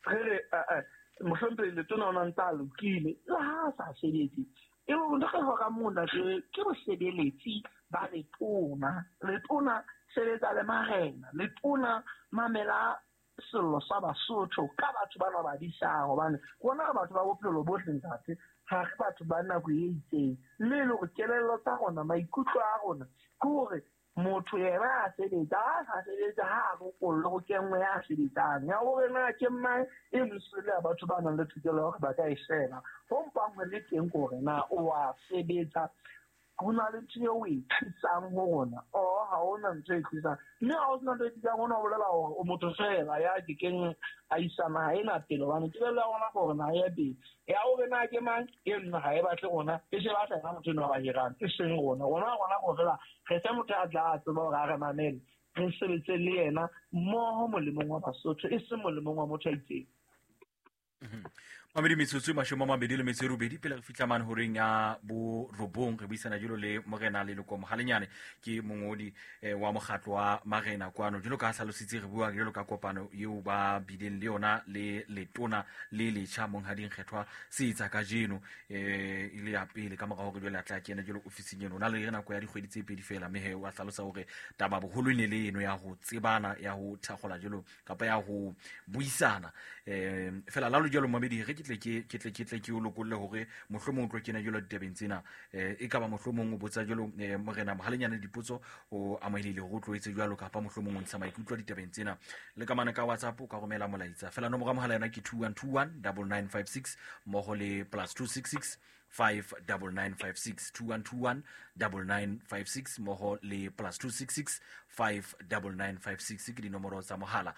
Re re eh mohlomphehi letona o na ntse a lokile le ha a sa sebetse. E ntho re hlokang moo ntate ke bosebeletsi ba letona. Letona sebetsa le marena, letona mamela sello sa Basotho ka batho bana ba disang, hobane rona re batho ba bophelo bohle ntate, ha re batho ba nako e itseng. Mme e le hore kelello tsa rona, maikutlo a rona ke hore motho yena a sebetsa, ha a sa sebetse ha a lokollwe ho kenngwe ya sebetsang. Ya hore na ke mang e mosele ya batho ba nang le tokelo ya hore ba ka e sheba. Ho mpang ho le teng ke hore na o a sebetsa, ho na le ntho eo o e tlisang ho rona or ha hona ntho e tlisang. Mme ha ho sena ntho e tlisang, hona ho bolela hore o motho feela ya kekeng a isa naha ena pele, hobane kelello ya rona ke hore naha ya pele. Ya hore na ke mang, e nna ha e batle rona, e se batla yena motho enwa ba hirang, e seng rona. Rona rona ke feela re fe motho a tla tseba hore a re mamele, re sebetse le yena mmoho molemong wa Basotho, e seng molemong wa motho a itseng. Mamedi metsotso e 28 pele re fihla mane horeng ya borobong, re buisana jalo le morena Leloko Mohalenyane, ke mongodi wa mokgatlo wa marena kwano. Jalo ka hlalositse, re bua jalo ka kopano eo ba bileng le yona le letona le letjha monghadi Nkgethwa Seetsa kajeno, e le ya pele ka mora hore jwale a tla kena jalo ofising eno. O na le nako ya dikgwedi tse pedi fela, mme he wa hlalosa hore taba boholo e ne le eno ya ho tsebana, ya ho thakgola jalo kapa ya ho buisana. Fela la lo jalo mamedi, re ke tle ke ke tle ke tle ke o lokolle hore mohlomong o tlo kena jalo ditabeng tsena. E ka ba mohlomong o botsa jalo morena Mohalenyane dipotso, o amohelehile hore o tlo etse jwalo, kapa mohlomong o ntsha maikutlo ditabeng tsena. Le ka mane ka WhatsApp o ka romela molaetsa fela, nomoro ya mohala yona ke 2121 9956 mmoho le plus 266 59956, 2121 9956 mmoho le plus 266 59956 ke dinomoro tsa mohala.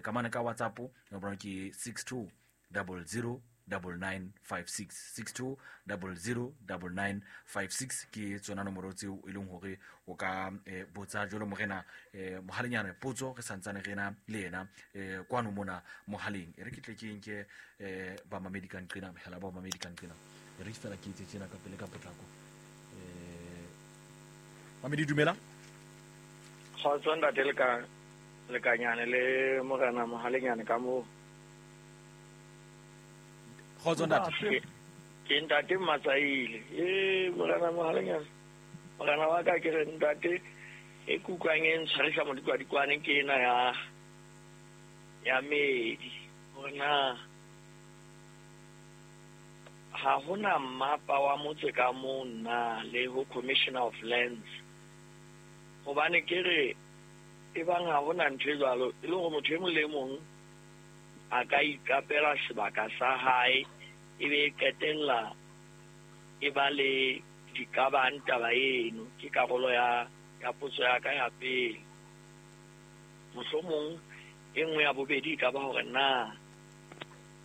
Ka mane ka WhatsApp nomoro ke 62 00 9956, 62 00 9956 ke tsona nomoro tseo e leng hore o ka botsa jalo morena Mohalenyane potso, re santsane re na le yena kwano mona mohaleng. E re ke tle ke nke bamamedi ka nqena, mehala ba bamamedi ka nqena, e re fela ke etse tjena ka pele ka potlako. Mamedi dumela. Kgotso ntate Lekanyane le morena Mohalenyane ka moo. Kgotso ntate. Ke ntate Matsaile. Morena Mohalenyane, morena wa ka, ke re ntate e kutlwang e ntshwarisa modikwadikwane ke ena ya medi, hore na ha hona mmapa wa motse ka moo na le ho Commissioner of Lands, hobane ke re e bang ha hona ntho e jwalo, e le hore motho e mong le e mong a ka iqapela sebaka sa hae, e be e qetella e ba le diqabang taba eno. Ke karolo ya potso ya ka ya pele. Mohlomong e nngwe ya bobedi e ka ba hore na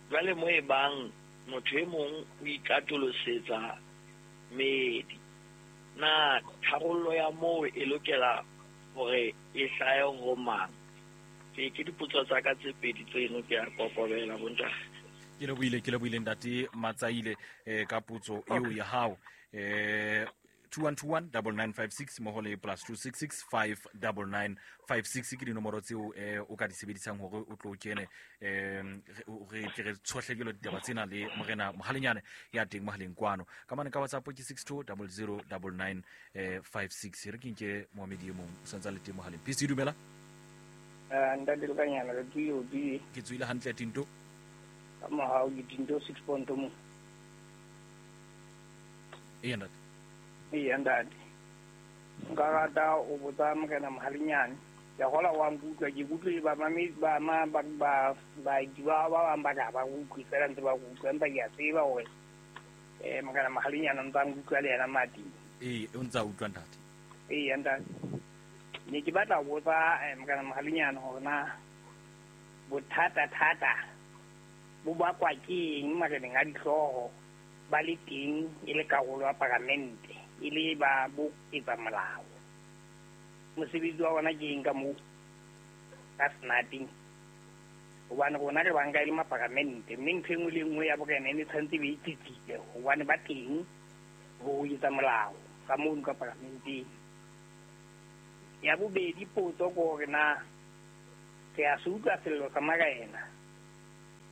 jwale mo e bang motho e mong o ikatolosetsa medi, na tharollo ya moo e lokela hore e hlahe ho mang? Ke dipotso tsa ka tse pedi tseno, ke a kokobela bontate. Ke lebohile ntate Matsaile ka potso eo ya hao. 2121 9956 mmoho le plus 266 59956 ke dinomoro tseo o ka di sebedisang hore o tlo kene, re tle re tshohle jalo ditaba tsena le morena Mohalenyane ya teng mohaleng kwano. Ka mane ka WhatsApp ke 62 00 99 56. Re ke nke moamedi e mong o santse a le teng mohaleng. PC dumela. Ntate Lekanyana, re tsoile o tsoile. Ke tsoile hantle Tinto. Ka mohau ke Tinto 6 point mo. Eya ntate. Eya ntate. Nka rata o botsa morena Mohalenyane. Ke a gola wa nkutlwa, ke kutlwe ba mame ba ma ba ba ba ba ba bang ba ka ba utlwe fela ntse ba utlwa, empa ke a tseba hore morena Mohalenyane o ntse a nkutlwa le yena mati. Ee, o ntse a utlwa ntate. Eya ntate. Ne ke batla ho botsa morena Mohalenyane hore na bothata thata bo bakwa ke eng mareneng a dihlooho ba le teng e le karolo ya paramente, e le ba bo etsa molao. Mosebetsi wa bona ke eng ka moo ka senateng? Hobane rona re banka e le maparamente, mme ntho e nngwe le e nngwe ya borena e ne tshwanetse e be e tsitsitse, hobane ba teng ho etsa molao ka mono ka paramenteng. Ya bobedi potso ke hore na re a se utlwa sello sa marena.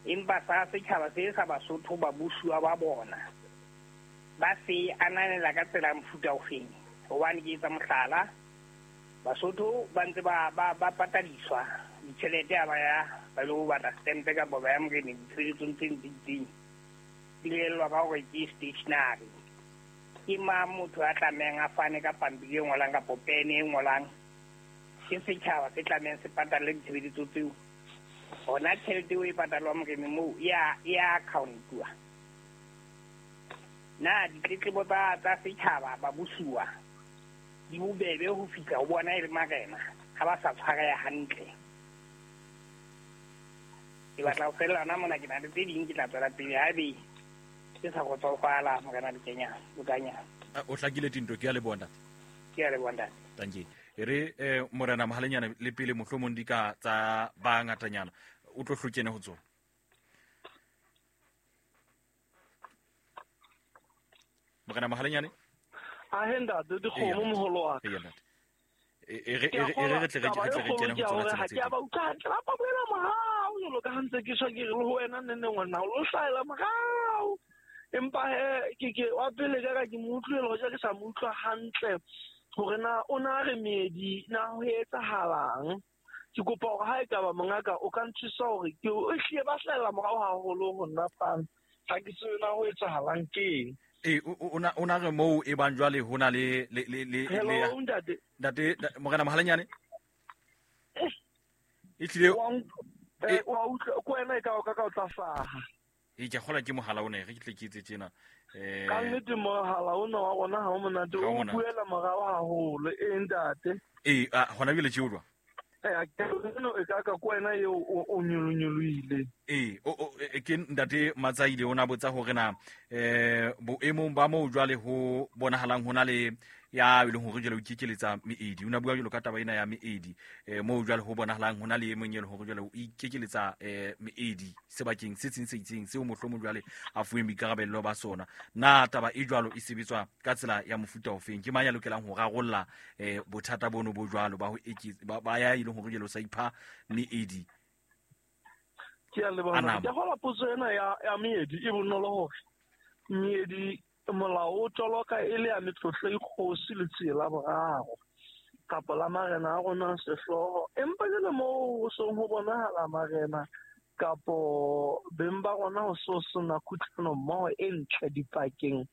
Empa sa setjhaba se sa Basotho ba busuwa ba bona ba se ananela ka tsela mofuta ofeng. Hobane ke etsa mohlala, Basotho ba ntse ba patadiswa ditjhelete ha ba ya ba lo batla stempe kapa ba ya moreneng ditshebeletsong tse itseng, di lellwa ka hore ke stationery. Ke mang motho a tlamehang a fane ka pampiri e ngolang kapa pene e ngolang? Ke setjhaba se tlamehang se patalle ditshebeletso tseo. Hona tjhelete eo e patalwang moreneng moo e ya account-uwa. Na ditletlebo tsa setjhaba ba busuwa di bobebe ho fihla ho bona e le marena ha ba sa tshwareha hantle? Ke batla ho fella hona mona, ke na le tse ding ke tla tswela pele haebe ke sa kgotsofala morena Lekanyana. O hlakile Tinto, ke a leboha ntate. Ke a leboha ntate. Thank you. E re morena Mohalenyane le pele mohlomong di ka tsa ba ngatanyana o tlo hlokene ho tsona. Morena Mohalenyane? A he ntate, dikgomo moholo wa ka. Eya ntate. E re re tle re kene ho tsona tsena tse. Ke a ba utlwa hantle, ba bolela morao jwalo ka ha ntse ke shwa ke re le ho wena nne nne ngwana o lo hlahela morao. Empa he ke wa pele ka ke mo utlwile hoja ke sa mo utlwa hantle hore na o na re meedi na ho etsahalang. Ke kopa hore ha e ka ba mongaka o ka nthusa hore ke o hlile ba hlahela morao haholo ho nna fana. Ha ke tsebe na ho etsahalang keng. E o na re moo e bang jwale ho na le Hello ntate. Ntate morena Mohalenyane. E tlile wa utlwa ko wena e ka o ka o tla hlaha. E ke kgola ke mohala ona re ke tle ke etse tjena. Ka nnete mohala ona wa rona ha o monate, o buela morao haholo. E ntate. E hona jwale tje o jwang? E ka ka ko wena eo o nyolonyoloile. E ke ntate Matsaile o na botsa hore na boemong ba moo jwale ho bonahalang ho na le ya e leng hore jwale o ikekeletsa meedi. O na bua jwalo ka taba ena ya meedi moo jwale ho bonahalang ho na le e mong e leng hore jwale o ikekeletsa meedi sebakeng se seng se itseng seo mohlomong jwale a fuweng boikarabello ba sona. Na taba e jwalo e sebetswa ka tsela ya mofuta ofeng? Ke mang ya lokelang ho rarolla bothata bono bo jwalo ba ho ba ya e leng hore jwale o sa ipha meedi? Ke a leboha. Ke kgola potso ena ya meedi e bonolo hore meedi molao o toloka e le ya metlotlo e kgosi le tsela boraro kapa la marena a rona sehlooho. Empa jwale moo ho seng ho bonahala marena kapo beng ba rona ho so sena kutlwano mmoho e ntle dipakeng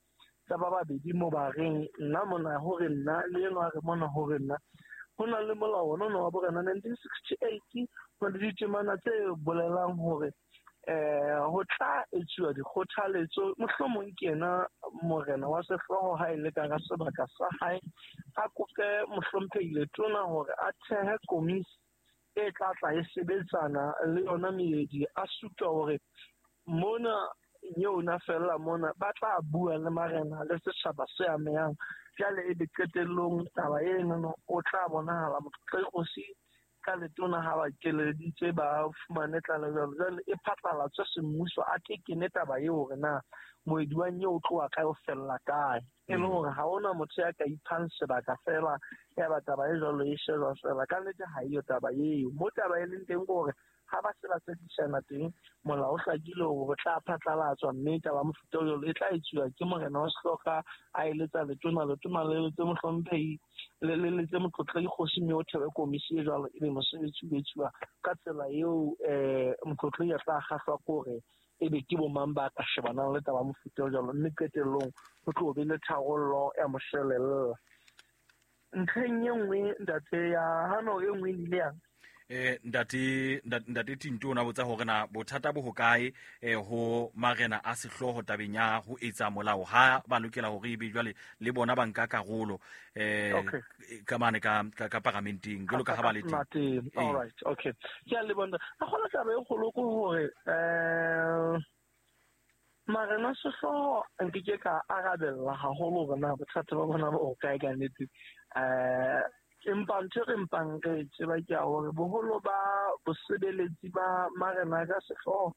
tsa ba babedi mo ba reng nna mona hore nna le enwa re mona hore nna. Ho na le molao ona wa borena 1968 ho na le ditemana tse bolelang hore ho tla etsuwa dikgothaletso mohlomong ke yena morena wa sehlooho ha e le ka hara sebaka sa hae a kope mohlomphehi letona hore a thehe komisi e tla tla e sebetsana le yona meedi a supa hore mona yona fella mona ba tla bua le marena le setjhaba se amehang. Jwale ebe qetellong taba eno o tla bonahala motlotlekgosi ka letona ha ba keleditse ba fumane tlaleho jwale e phatlalatswe semmuso a tekene taba eo hore na moedi wa nyeo o tloha kae o fella kae. E le hore ha hona motho ya ka iphang sebaka fela ya ba taba e jwalo e shejwa fela. Ka nnete ha eyo taba eo. Mo taba e leng teng ke hore ha ba se ba tsekisana teng molao o hlakile hore ho tla phatlalatswa mme taba mofuta o jwalo e tla etsuwa ke morena wa sehloka a eletsa letona, letona le eletse mohlomphehi le letse motlotlegi kgosi mme o thebe komisi e jwalo ebe mosebetsi o etsuwa ka tsela eo motlotlegi a tla kgahlwa ke hore ebe ke bo mang ba ka shebanang le taba mofuta o jwalo mme qetellong ho tlo be le tharollo ya moshwelella. Ntlheng e nngwe ntate ya hano e nngwe e ile yang Ntate Tinto o na botsa hore na bothata bo hokae ho marena a sehlooho tabeng ya ho etsa molao ha ba lokela hore ebe jwale le bona ba nka karolo ka mane ka paramenteng jwalo ka ha ba le teng. All right, okay. Ke a leboha. A kgona taba e kgolo ke hore marena sehlooho nke ke ka arabella haholo hore na bothata ba bona bo hokae ka nnete. Empa ntho re mpang re tseba ke ya hore boholo ba bosebeletsi ba marena ka sehlooho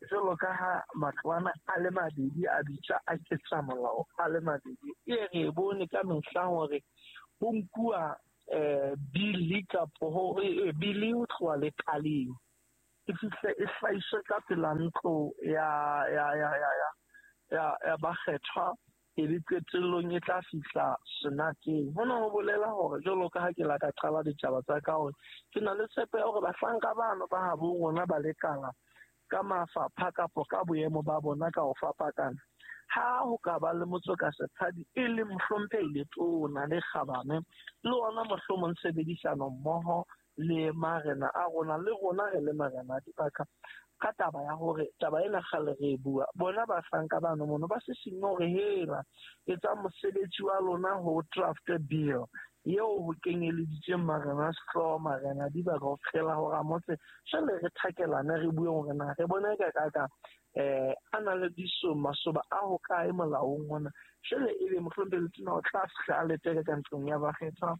jwalo ka ha matlwana a le mabedi a bitswa a ketsa molao a le mabedi e re bone ka mehla hore ho nkuwa bili kapo hore bili ho tloha lekaleng. E fihle e hlahiswe ka pela ntlo ya ya ya ya ya ya ya bakgethwa, e be qetellong e tla fihla senateng. Hona ho bolela hore jwalo ka ha ke la ka qala ditaba tsa ka hore ke na le tshepo ya hore bahlanka bano ba habo rona ba lekala ka mafapha kapo ka boemo ba bona ka ho fapakana, ha ho ka ba le motsoka sephadi e le mohlomphehi letona le kgabane le ona mohlomong tshebedisano mmoho le marena a rona le rona re le marena a dibaka ka taba ya hore taba ena kgale re e bua, bona bahlanka bano mono ba sisinne hore hela etsa mosebetsi wa lona ho draft bill eo ho kenyeleditseng marena a sehlooho, marena a dibaka ho fihlela ho ramotse. Jwale re thakelane re bue hore na re bone ka ka ka a na le diso masoba a ho kae molaong ona. Jwale ebe mohlomphehi letona o tla fihla a leteke ka ntlong ya bakgethwa,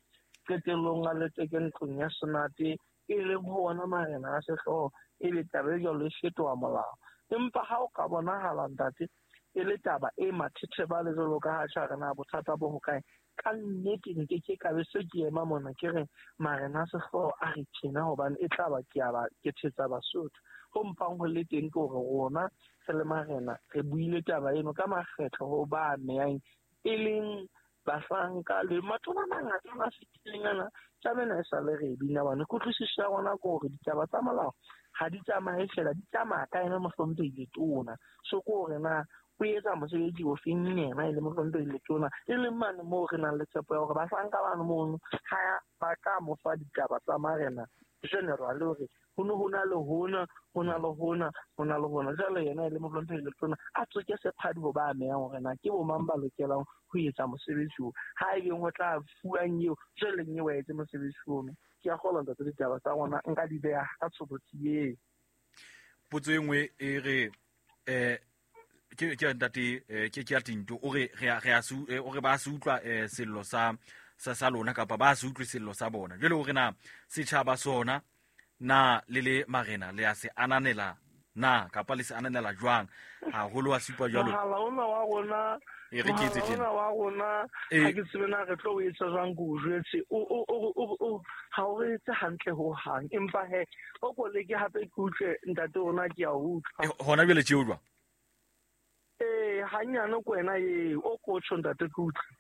qetellong a leteke ntlong ya senate, e leng ho ona marena a sehlooho, ebe taba e jwalo e fetoha molao. Empa ha o ka bonahala ntate e le taba e mathethebale jwalo ka ha tjha re na bothata bo hokae, ka nnete nke ke ka be se ke ema mona ke re marena a sehlooho a re tjena, hobane e tla ba ke a ba ke thetsa Basotho. Ho mpang ho le teng ke hore rona re le marena re buile taba eno ka makgetlo ho ba amehang, e leng bahlanka le matona a mangata a fetileng ana. Taba ena e sa le re e bina hobane kutlwisiso ya rona ke hore ditaba tsa molao ha di tsamaye fela, di tsamaya ka ena mohlomphehi letona. So ke hore na o etsa mosebetsi o feng yena e le mohlomphehi letona, e leng mane moo re nang le tshepo ya hore bahlanka bano mono ha ba ka mo fa ditaba tsa marena general hore ho ne ho na le hona, ho na le hona, ho na le hona. Jwale yena e le mohlomphehi letona a tsoke sephadi ho ba amehang hore na ke bo mang ba lokelang ho etsa mosebetsi oo. Ha e beng ho tla fuwang eo, jwale eo a etse mosebetsi ono. Ke a kgolwa ntate ditaba tsa rona nka di beha ka tshobotsi eo. Potso e nngwe e re ke ntate ke ya Tinto, o re re a se o re ba se utlwa sello sa sa lona kapa ba se utlwe sello sa bona. Jwale o re na setjhaba sona na le le marena le a se ananela na kapa le se ananela jwang haholo wa supa jwalo? Mohala ona wa rona, E re ke etse tjena. mohala ona wa rona, ha ke tsebe na re tlo o etsa jwang, ke o jwetse. O ha o re etse hantle ho hang. Empa he, o ko leke hape ke utlwe ntate rona, ke a utlwa. Hona jwale tje o jwang? Hanyane ko wena eo, o ko tjho ntate ke utlwe.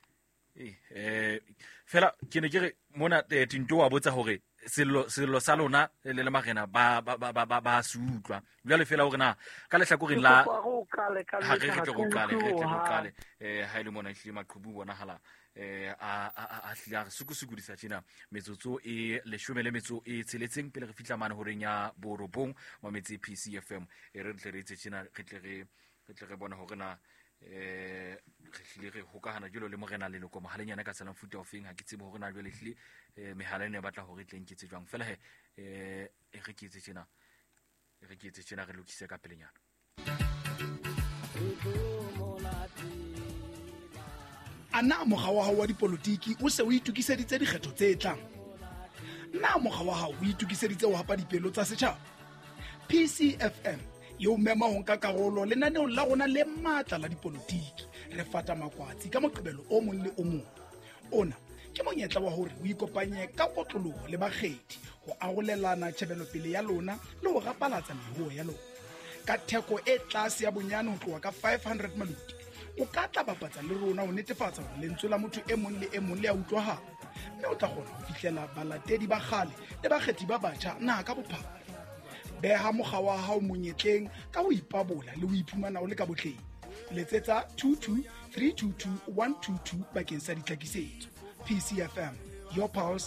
Fela ke ne ke re mona Tinto wa botsa hore sello sa lona le le marena ba se utlwa. Jwale fela hore na ka lehlakoreng la Ke kopa hore o qale ka ha re mehla, re tle re ha ke qale, re utlwe tle re hohang. qale. Ha e le mona ehlile maqhubu bonahala a hlile a re sukusukodisa tjena metsotso e 16 pele re fihla mane horeng ya borobong mametse PCFM. E re tle re etse tjena, re tle re bone hore na re hlile re hokahana jwalo le morena leloko mohalenyana ka tsela mofuta ofeng. Ha ke tsebe hore na jwale hlile mehala ena e batla hore e tle nketse jwang. Fela he, e re ke etse tjena, e re ke etse tjena, re lokise ka pelenyana. A na mokga wa hao wa dipolotiki o se o itokiseditse dikgetho tse tlang? Na mokga wa hao o itokiseditse ho hapa dipelo tsa setjhaba? PCFM e o mema ho nka karolo lenaneong la rona le matla la dipolotiki. Re fata makwatsi ka Moqebelo o mong le o mong. Ona ke monyetla wa hore o ikopanye ka kotloloho le bakgethi ho arolelana tjhebelopele ya lona le ho rapalatsa meruo ya lona. Ka theko e tlase ya bonyane ho tloha ka 500 maluti, o ka tla bapatsa le rona ho netefatsa hore lentswe la motho e mong le e mong le a utlwahala, mme o tla kgona ho fihlela balatedi ba kgale le bakgethi ba batjha naha ka bophara. Beha mokga wa hao monyetleng ka ho ipabola le ho iphumana o le ka botleng. Letsetsa 22 322 122 bakeng sa ditlhakisetso. PCFM, your pulse.